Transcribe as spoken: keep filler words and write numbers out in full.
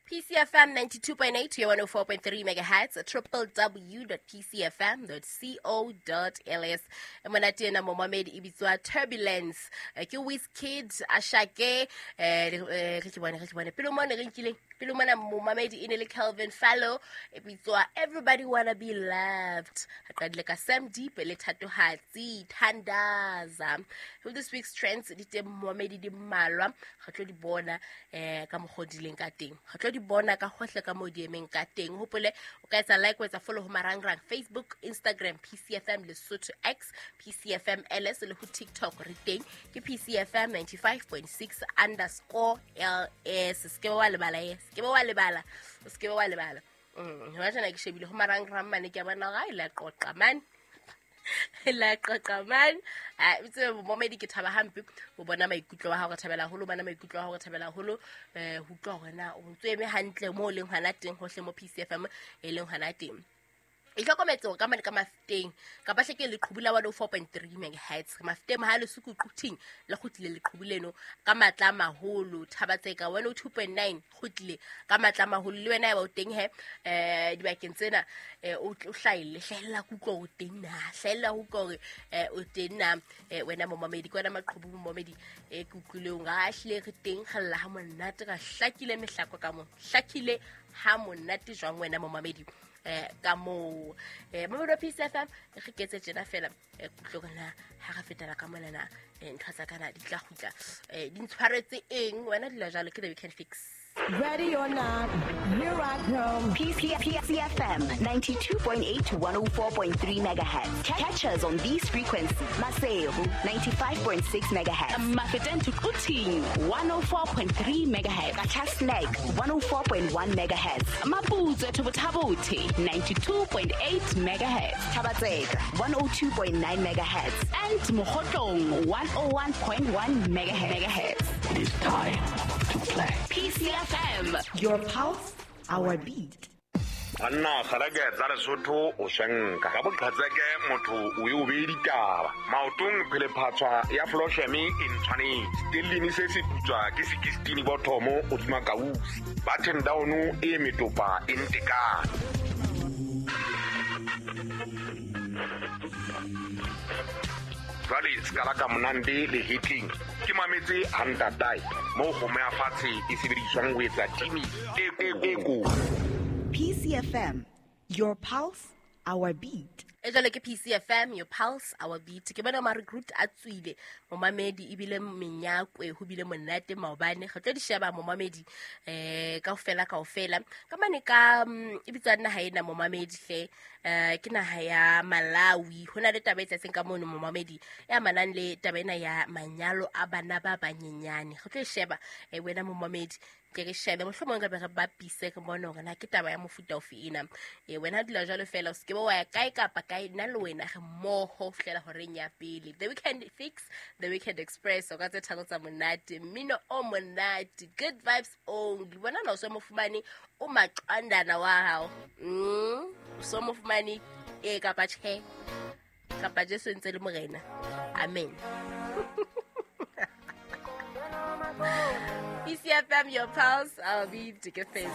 P C F M ninety-two point eight to one oh four point three megahertz, triple w dot p c f m dot co dot l s. Monate ena momamedi e bitswa Turbulence. Ke Wizkid, Ashake, eh re ke bone re ke bone. Pele mona re nkile, pele mona momamedi e ne le Calvin Fallow, e bitswa Everybody Wanna Be Loved. Re qadile ka Sam Deep le Thatohatsi, Thandaza. Ho this week's trends di teng momamedi di mmalwa, re tlo di bona eh ka mokgo di leng ka teng. Re tlo di bona ka hohle ka mo di emeng ka teng. Hopole o ka etsa like, o etsa follow ho marangrang Facebook, Instagram, P C F M Lesotho X, P C F M L S le ho TikTok re teng ke P C F M ninety-five point six underscore L S. Se ke wa lebala e, se ke wa lebala, se ke wa lebala. Mm, hona tjena ke shebile ho marangrang mane ke a bona ga ile qoqa man. La qoqa man. Ah, itse momedi ke thaba hampe o bona maikutlo wa hao, re thabela haholo bana maikutlo wa hao, re thabela haholo eh ho utlwa hore na o ntse eme hantle mo leng hona teng hohle mo P C F M e leng hona teng. E hlokometse hore ka mane ka Mafeteng kapa hle ke leqhubu la one oh four point three megahertz Mafeteng ha le suku quthing le kgutlile leqhubu leno ka matla a maholo. Thabatseka one oh two point nine kgutlile ka matla a maholo. Le wena ya ba o teng he eh dibakeng tsena o hlaile hlahella kutlwa o teng na hlahella ho utlwa hore o teng na wena momamedi ke wena maqhubu momamedi e ke utlwile o nga hlile re teng kgalla ha monate ka hlakile mehlako ka mo hlakile ha monate jwang wena momamedi eh ka mo eh momamedi wa P C F M re ketse tjena fela eh kutlwa na ha re fetela ka mona na ntho tsa kana di tla kgutla eh di ntshwaretse eng wena dula jwalo ke the weekend fix. Ready or not, here I come. P C F M ninety-two point eight to one oh four point three megahertz. Catch us on these frequencies. Maseru ninety-five point six megahertz. Mafeteng to Quthing one oh four point three megahertz. Qacha's one oh four point one megahertz. Maputswe to Botha-Bothe ninety-two point eight megahertz. Thabatseka one oh two point nine megahertz. And Mokhotlong one oh one point one megahertz. It is time to play. P C F M. Your pulse, our beat. Banna kgareke tsa Lesotho o shenka ka boqhatseke motho o e o be ditaba maotong phele phatswa ya Floshemi e ntshwanetse stellini se se putswa ke sixteen bothomo o tsuma kausi button down e metopa e ntekane. Jwale skala ka monande le hitling ke mametse hantatai mo go meya fatshe e sebediswang ho etsa timi e e ko. P C F M, your pulse, our beat. E jwale ke P C F M, your pulse, our beat. Ke bona ma recruit a tswile momamedi ebile menyakwe ho bile monate maobane. Re tlo di sheba momamedi eh kaofela kaofela. Ka mane ka e bitswa naha ena momamedi hle eh ke naha ya Malawi. Hona le taba e tsatseng ka mono momamedi ya manang le taba ena ya manyalo a bana ba banyenyane. Re tlo sheba eh wena momamedi ke re shebe mohlomong ka be re bapise re bone hore na ke taba ya mofuta ofe ena. E wena dula jwalo fela o se ke ba wa ya kae kapa kae nna le wena re mmoho fihlela horeng ya pele. The Weekend Fix, The Weekend Express, o ka tse tharo tsa monate, mmino o monate, good vibes only. Bona na o so mo fumane o maqandana wa hao. Mm, o so mo fumane e kapa tjhe kapa Jesu ntse le morena. Amen. P C F M, your pulse, I'll be to get face.